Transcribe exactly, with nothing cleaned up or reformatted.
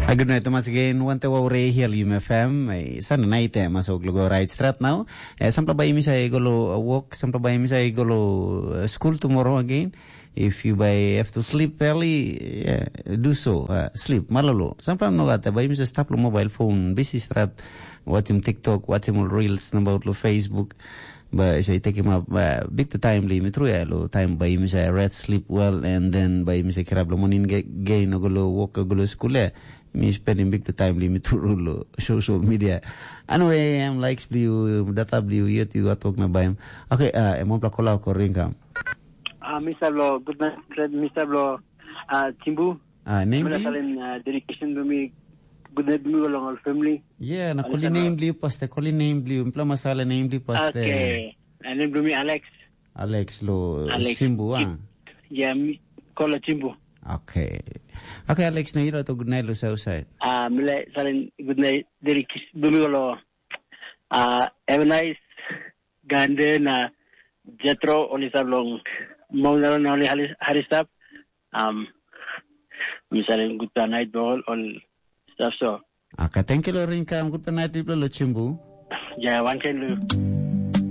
A good night, Thomas, again. Wante wa ure hial yum F M. Eh, sana night, eh, masuk lugo right strat now. Eh, sampla ba imisa i golo, eh, walk, sampla ba imisa i golo, eh, school tomorrow again. If you by have to sleep early, yeah, do so. Uh, sleep, malolo. Sampla no gata, ba imisa stap lo mobile phone, busy strat, watching TikTok, watching all reels, about lo Facebook. Ba isa i take him up, uh, big the time li, mi tru ya lo time ba imisa rest, sleep well, and then ba imisa kirap lo morning ge-, gain, o golo walk, o golo school ya. Mi spending big the time li mi turu lo social media. Anyway, em likes bliu, data bliu, yet you are talking about him. Okay, uh, em opla kola ko ring kam. Ah, Mister Blo, good night, Mister Blo, ah, Chimbu. Ah, name Mila bliu? Salin, ah, dedication to me, good night, me along all family. Yeah, na Alisa koli na name bliu, paste koli name bliu. Mpla masala name bliu, paste. Okay, and then to me, Alex. Alex lo Alex. Simbu, ah. Chip. Yeah, me, call a Chimbu. Okay. Okay, Alex, na ira to good night lo Southside. Ah, Mila Salin, good night, dedication to me along. Ah, have a nice Gande na Jetro oli sa long Mount Aaron oli hali hari stap. Um, misalnya good night ball all stuff so. Aka, thank you lo ring kam, good night people lo Chimbu. Ya, one can do.